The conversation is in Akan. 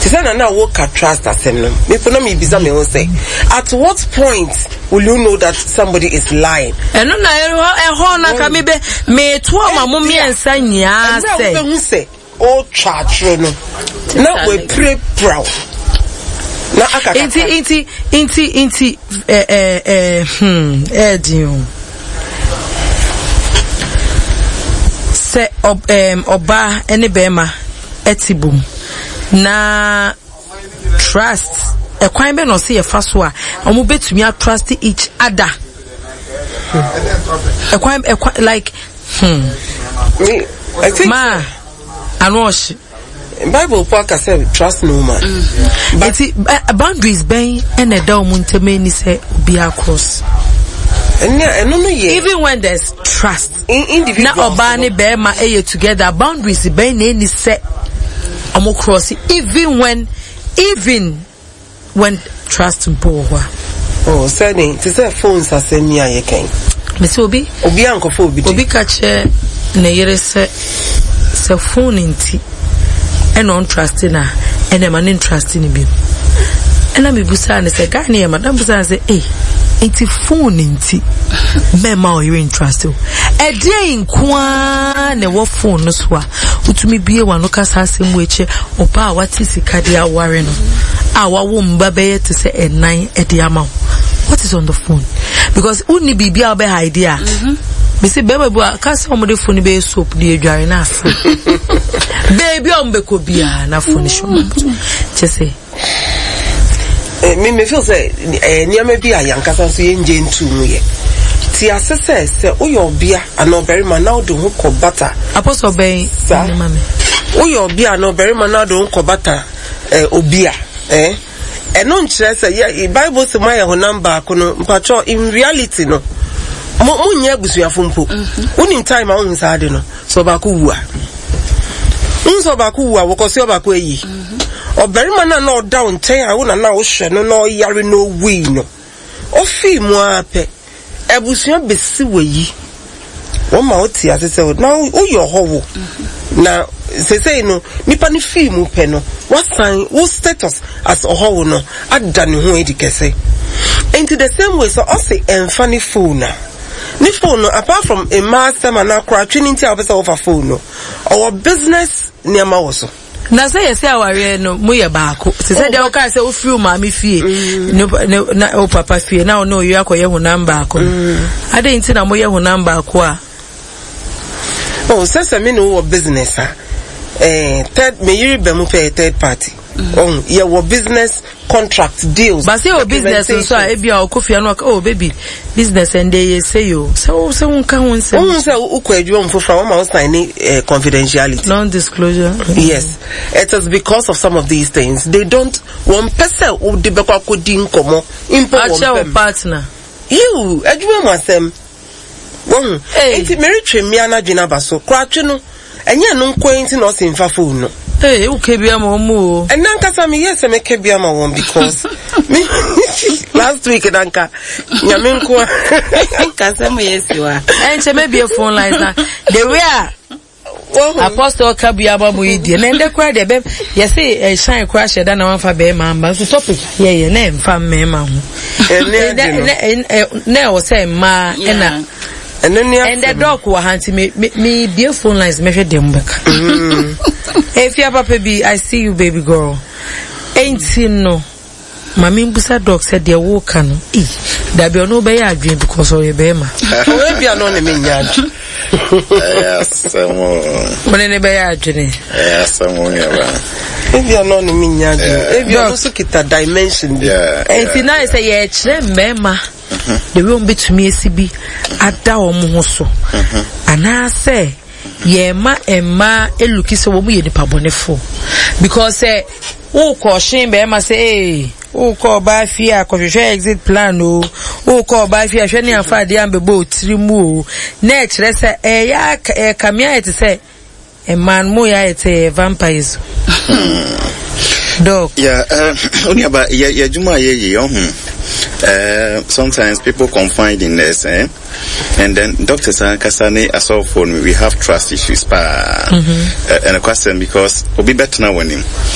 Te sɛ na na woka trust asɛm no, me na mebisa me ho sɛ, at what point will you know that somebody is lying? Ɛno na ɛhɔ na ka mebɛ meto ama mo mmiɛnsa nyinaa sɛ. Ɛmmerɛ a wobɛhu sɛ ɔretwa atoro no na wapirapira wo na aka kakra. Nti nti nti nti ɛɛ ɛɛ ɛɛdin o. Sɛ ɔbaa ne bɛrima ɛte bom na trust ɛkwan bɛ na ɔsɛ yɛfa so a wɔn bɛtumi atrust each other ɛkwan ɛkwan like Me, I think ma ano ɔhye. Bible po aka sɛ trust no man. But nti boundaries bɛn ɛna ɛda wɔn ntam ani sɛ obiara cross. Ɛnna ɛno no yɛ. Even when there's trust. Individuals. Na ɔbaa ne bɛrima ɛyɛ together, boundaries bɛn na ɛni sɛ wɔn cross even when even when trust mpo wɔ hɔ a. Oh, sɛne te sɛ phones asɛm yi a yɛkɛn. Mese obi. Obi ankɔfa obi de. Obi ka kyerɛ ne yere sɛ sɛ phone nti ɛna ɔntrust no a, ɛna ɛma ne ntrust no bio. Ɛna mebusaa no sɛ guy no yɛ ma, na mebusaa no sɛ ei, nti phone nti mɛma ɔyere ntrust o. Ɛdeɛn nko ara na ɛwɔ phone no so a wotumi bue w'ano ka saa asɛm wei kyerɛ ɔbaa a wate sika de aware no a wawo mba bɛyɛ te sɛ ɛnan de ama wo? What is on the phone? Because wonni biribi a wobɛ hide a. Mesi bɛrima bi a ka sɛ wɔde phone bɛyɛ soap de adware no ase. Baabi a wɔbɛkɔ biara na phone hyɛ wɔn kyɛ sɛ. Me me feel sɛ nneɛma bi a yankasa nso yɛngye ntu mu yɛ. Te ase sɛ sɛ woyɛ ɔbea anaa ɔbarima na wode ho kɔ bata. Apɔsɔ bɛn saa woyɛ ɔbea anaa ɔbarima na wode ho kɔ bata obi a ɛno nkyerɛ sɛ yɛ Bible sɛ moayɛ honam baako no mpakyɛw in reality no mo monyɛ abusuafo mpo. Wonim time a wohu saa ade no sɛ ɔbaako wu a. Wohu sɛ ɔbaako wu a wɔkɔ so ɔbaako ayi. Ɔbarima no a na ɔda wo nkyɛn a wo na na wohwɛ no na ɔyare na owui no, ofii mu ara pɛ, abusua besi w'ayi. Wɔma wote ase sɛ na woyɛ ɔhɔho. Na seesei no, nipa no fii mu pɛ no, wasan wo status as ɔhɔho no ada ne ho adi kɛse. Enti the same way sɛ ɔse ɛmfa ne phone a, ne phone no apart from mmaa asɛm anaa koratwe no nti a wopɛ sɛ wofa phone no, ɔwɔ business nneɛma wɔ so. Na sɛ yɛsɛ awareɛ no mo yɛ baako te sɛ deɛ wokaa sɛ wofiri wo maame fie na wo papa fie na wo ne oyere akɔyɛ honam baako no, adɛn nti na moyɛ honam baako a? Oh, sɛ sɛ me ne wo wɔ business a, third, me yere ba mu pɛ yɛ third party. Oh, yɛwɔ business contract deals. Ba sɛ yɛwɔ business nso a, ebi a ɔkɔ fie no ɔka, oh baby, business ɛnde yɛ sɛ yo. Sɛ wo sɛ wo nka ho nsɛm. Wohu sɛ wokɔ adwuma mu foforɔ a, wɔma wo sign ne confidentiality. Non-disclosure. Yes. It is because of some of these things. They don't, wɔn pɛ sɛ wode bɛkɔ akɔdi nkɔmmɔ mpo wɔn pɛm. Akyɛ wo partner. Yiw, adwuma mu asɛm. Wahu? Enti meretwe mmea no adwene aba so. Koratwe no, ɛnyɛ ɛno nko ara nti na ɔse mfa phone no. Hey, woka bi ama wɔn o. Ɛnna ankasa meyɛ sɛ mɛka bi ama wɔn because me last week na nka nyame nko a. Nkasa mu yɛ siwa. Ɛnkyɛ mɛbie phone lines na the way a Apostle ka bi aba mu yi deɛ na ɛndɛ koraa deɛ bɛ yɛse ɛhyɛn eh, koraa hyɛ da na wamfa bɛrima amba nso topic yɛyɛ na ɛmfa mmarima ho na ɛwɔ sɛ mmaa ɛna ɛndɛ dɔk wɔ ha nti me me me bie phone lines mɛhwɛ deɛ mo bɛka efia papa bi I see you baby girl ɛnti no. Ma me mbusa doc sɛ deɛ wo ka no ei dabi ɔno bɛyɛ adwene because ɔyɛ bɛɛma. Ɔyɛ bia no ne me nya adwene. Ɛyɛ asɛm o. Wo ne ne bɛyɛ adwene. Ɛyɛ asɛm o nua ba. Ebia no ne me nya adwene. Ebia ɔno nso kita dimension bi. Enti na sɛ yɛkyerɛ mmarima the way wɔn betumi esi bi ada wɔn ho so anaasɛ yɛma mmaa eluki sɛ wɔn yɛ nipa bɔnefo because sɛ. Wokɔ ɔhyen bɛrima sɛ ee wokɔ ɔbaa fie a kɔhwehwɛ exit plan o, wokɔ ɔbaa fie a hwɛ ne afa adeɛ ambɛbɔ otiri mu o, na ɛkyerɛ sɛ ɛyɛ ɛkame ayɛ te sɛ mmaa no mo yɛ ayɛ te yɛ vampires o. Dɔk. Yeah, onuaba, yɛ yɛ adwuma a yɛyɛ yɛ ɔho. Sometimes people confide in us, eh? And then doctors ankasa ne asɔfoɔ no, we have trust issues paa. Ɛnokwasɛm because obi bɛtena w'anim.